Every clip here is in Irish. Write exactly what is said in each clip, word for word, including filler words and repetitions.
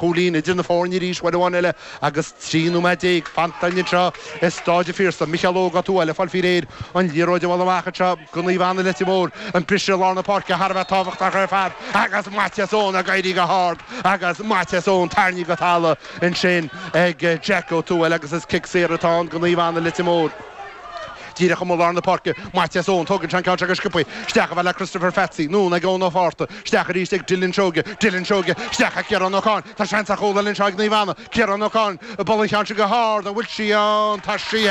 Cúilín idir na foirne arís uair amháin eile agus trí nóiméad déag fanta anseo i Staid an Phiarsaigh. Micheál Óg Ó Tuathail ag fáil faoi réir an liathróid a bhualadh amach anseo go Naomh Anna Leitir Móir. An briseadh i lár na páirce thar a bheith tábhachtach ar fad agus Maitias Eoin ag éirí go hard agus Maitias Eoin tarraingthe go talamh ansin ag Jack Ó Tuathail agus is cic saor atá ann go Naomh Anna Leitir Móir. Díreach amuigh lár na páirce, Maitias Eoin, tógann sé an ceann seo go sciobtha, isteach a fhad le Christopher Phatsy, anonn ag Eoin Ó Fátharta, isteach arís ag Dylan Seoige, Dylan Seoige, isteach ag Ciarán Ó Cadhain, tá seans ar chúl eile anseo ag Naomh Anna, Ciarán Ó Cadhain, ag bualadh an cheann seo go hard, an bhfuil sí ann, tá sí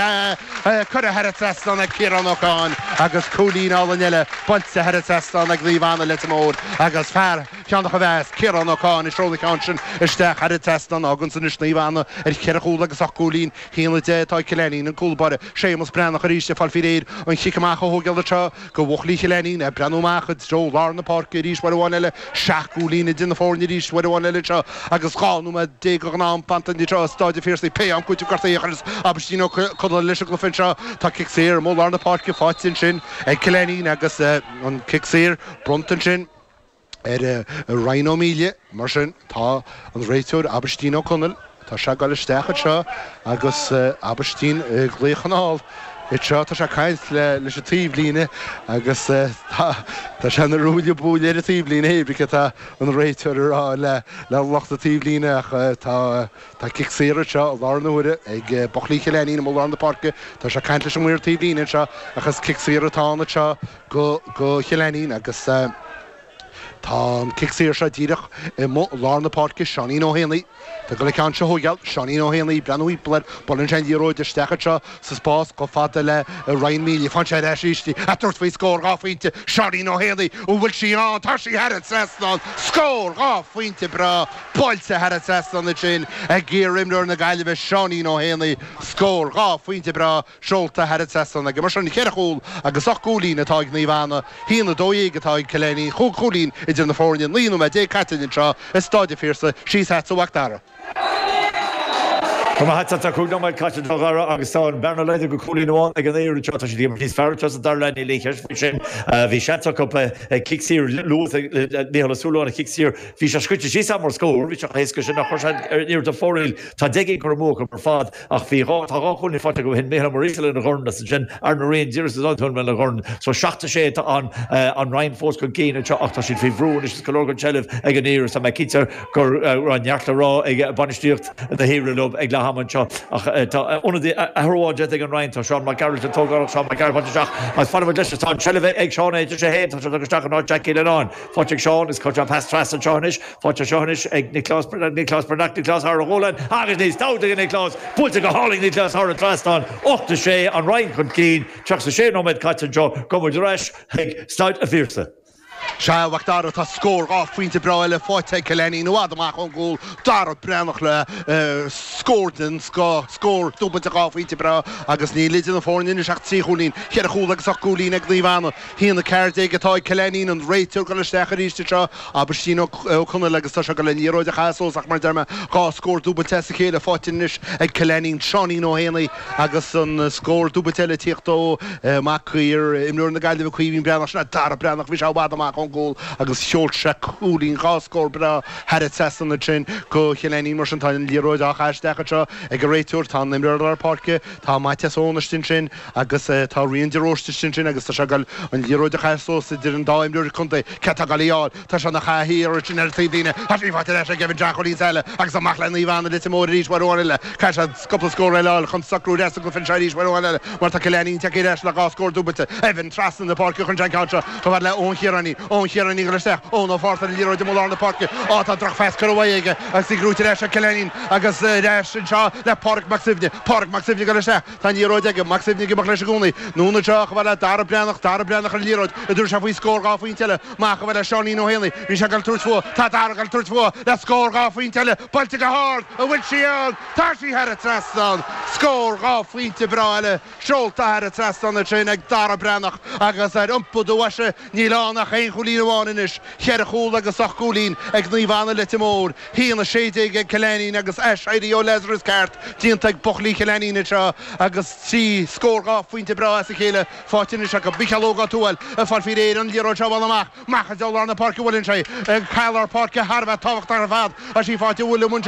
curtha thar an trasnán ag Ciarán Ó Cadhain agus cúilín álainn eile buailte thar an trasnán ag Naomh Anna Leitir Móir agus fear Cheann a Mheas, Ciarán Ó Cadhain ag seoladh an ceann sin isteach thar an trasnán, fágann san anois Naomh Anna ar cheithre chúl agus ocht gcúilín, haon a deich atá ag Cill Ainnín, an cúl báire, Séamus Breathnach arís ag fáil faoi réir an chic amach a thógáil anseo go bhuachaillí Chill Ainnín, ag breathnú amach i dtreo lár na páirce arís uair amháin eile, seacht gcúilín idir na foirne arís uair amháin eile anseo agus dhá nóiméad déag den am fanta anseo i Stáid an Phiarsaigh. Pé am cúiteamh gortaithe a chuireas Aibhistín Ó Conaill leis an gcluiche anseo. Tá cic saor amuigh lár na páirce faighte ansin ag Cill Ainnín agus an cic saor bronnta ansin ar Ryan Ó Míle. Mar sin, tá an réiteoir Aibhistín Ó Conaill, tá sé ag dul isteach anseo agus Aibhistín ag glaoch anall anseo, tá sé ag caint leis an taobhlíne agus tá tá sé ina ruaille buaille ar an taobhlíne, hé brí cad tá an réiteoir a rá le le lucht an taobhlíne ach tá tá cic saor anseo i láthair na huaire ag buachaillí Chill Ainnín amuigh lár na páirce, tá sé ag caint leis an maor taobhlíne anseo ach is cic saor atá ann anseo go go Chill Ainnín agus Tá an cic saor seo díreach i lár na páirce, Seáinín Ó hÉanaí. Tá ag dul an ceann seo a thógáil, Seáinín Ó hÉanaí, breathnú thimpeall air, buaileann sé an liathróid isteach anseo sa spás chomh fada le Ryan Mealy. Faigheann sé ar ais arís í, ag tabhairt faoi scór dhá phointe, Seáinín Ó hÉanaí, an bhfuil sí ann? Tá sí thar an trasnán! Scór dhá phointe breá buailte thar an trasnán ansin ag iar-imreoir na Gaillimhe, Seáinín Ó hÉanaí. Scór dhá phointe breá seolta thar an trasnán aige. Mar sin, ceithre chúl agus ocht gcúilín atá ag Naomh Anna. haon a dó dhéag atá ag Cill Ainnín, chúig chúilín idir na foirne, naoi nóiméad déag caite anseo i Stáid an Phiarsaigh, síos agatsa a Mhac Dara. Go maith agat, tá cúig nóiméad caite a Dhara agus tá an bearna laghdaithe go cúilín amháin ag an Aoir anseo. Tá siad ag imirt níos fearr anseo sa dara leath, níl aon cheist faoi sin. Bhí seans acu cic saor luath ag Micheál Ó Súilleabháin, an cic saor, bhí sé scoite síos am mar scór, bhí sé chomh héasca sin ach chuir sé an iarracht ar fóraoil. Tá deich gcinn curtha amú acu ar fad. Ach bhí dhá, tá dhá chúilín faighte acu ó shin, Micheál Ó Muiríosa lena dhorn agus ansin Aaron Ó Riain díreach sa dá lena dhorn. So seacht a sé atá an, an Rinn fós chun cinn anseo ach tá siad faoi bhrú anois is go leor den tseilbh ag an Aoir agus tá mé cinnte go raibh neart le rá ag bainistíocht na hAoire leo ag leath ama anseo. Ach tá ionadaí, athrú amháin déanta ag an Rinn, tá Seán Mac Gearailt an tógálach, Seán Mac Gearailt faighte isteach agus fanfaidh muid leis, tá an tseilbh ag Seán é, sé féin, tá sé tugtha isteach in áit Jackie Lennon. Faighte ag Seán is cuirtear an pas trasna anseo anois. Faighte seo anois ag Nioclás Breathnach, Nioclás Breathnach, Nioclás thar a ghualainn agus níos dabht ag Nioclás, buailte go hálainn Nioclás thar an trasnán, ocht a sé, an Rinn chun cinn, tríocha a sé nóiméad caite anseo, gabhfaidh muid ar ais chuig Staid a' Phiarsaigh. Sea, a Mhac Dara, tá scór dhá phointe breá eile faighte ag Cill Ainnín i bhfad amach ón gcúl. Dara Breathnach le scór den scoth, scór dúbailte dhá phointe breá agus níl idir na foirne anois ach trí chúilín, ceithre chúl agus ocht gcúilín ag Naomh Anna. haon a ceathair déag atá ag Cill Ainnín, an réiteoir ag dul isteach arís anseo, Aibhistín Ó Conaill agus tá sé ag dul an liathróid a chaitheamh suas ach mar a deir mé, dhá scór dúbailte as a chéile faighte anois ag Cill Ainnín, Seáinín Ó hÉanaí agus an scór dúbailte eile ag tíocht ó mhac iar-imreoir na Gaillimhe Caoimhín Breathnach, sin é Dara Breathnach, bhí sé i bhfad amach ón gcúl agus sheol sé cúilín, dhá scór breá thar an trasnán ansin go Chill Ainnín. Mar sin tá an liathróid á chaitheamh isteach anseo ag an réiteoir, tá an imreoir lár páirce, tá Maitias Eoin istigh ansin agus tá Rian de Róiste istigh ansin agus tá sé ag dul an liathróid a chaitheamh suas idir an dá imreoir contae. Cé atá ag dul í a fháil? Tá sé ina chaitheamh thiar ansin ar an taobhlíne. Tá sí faighte ar ais ag Evan John Chóilín Sáile agus amach le Naomh Anna Leitir Móir arís uair amháin eile. Caithfidh siad cúpla scór eile a fháil chun socrú ar ais sa gcluiche anseo arís uair amháin eile mar tá Cill Ainnín tagtha ar ais le dhá scór dúbailte. Evan trasna na páirce chun an ceann seo chomh fada le Eoin Chiaráin. Eoin Chiaráin ag dul isteach. Eoin Ó Fátharta ar an liathróid amuigh lár na páirce. Á tá drochphas curtha uaidh aige agus í gnóite ar ais ag Cill Ainnín agus ar ais anseo le Pádraig Mac Suibhne. Pádraig Mac Suibhne ag dul isteach. Tá an liathróid aige, Mac Suibhne ag imeacht leis i gcónaí. Anonn anseo chomh fada le Dara Breathnach, Dara Breathnach ar an liathróid, an dtabharfaidh sé faoi scór dhá phointe eile. Amach chomh fada le Seáinín Ó hÉanaí. Bhí sé ag dul tabhairt fúithi. Tá Dara ag dul tabhairt fúithi le scór dhá phointe eile. Buailte go hard! An bhfuil sí ann? Tá sí thar an trasnán! Scór dhá phointe breá eile seolta thar an trasnán ansin ag Dara Breathnach agus ar iompú do bhoise níl ann ach aon aon chúilín amháin anois, ceithre chúl agus ocht gcúilín ag Naomh Anna Leitir Móir, haon a sé déag ag Cill Ainnín agus aiséirí ó Lazarus ceart déanta ag buachaillí Chill Ainnín anseo agus trí scór dhá phointe breá as a chéile faighte anois acu. Micheál Óg Ó Tuathail ag fáil faoi réir an liathróid seo a bhualadh amach, amach i dtreo lár na páirce a bhuaileann sé, cath lár páirce thar a bheith tábhachtach ar fad, tá sí faighte William.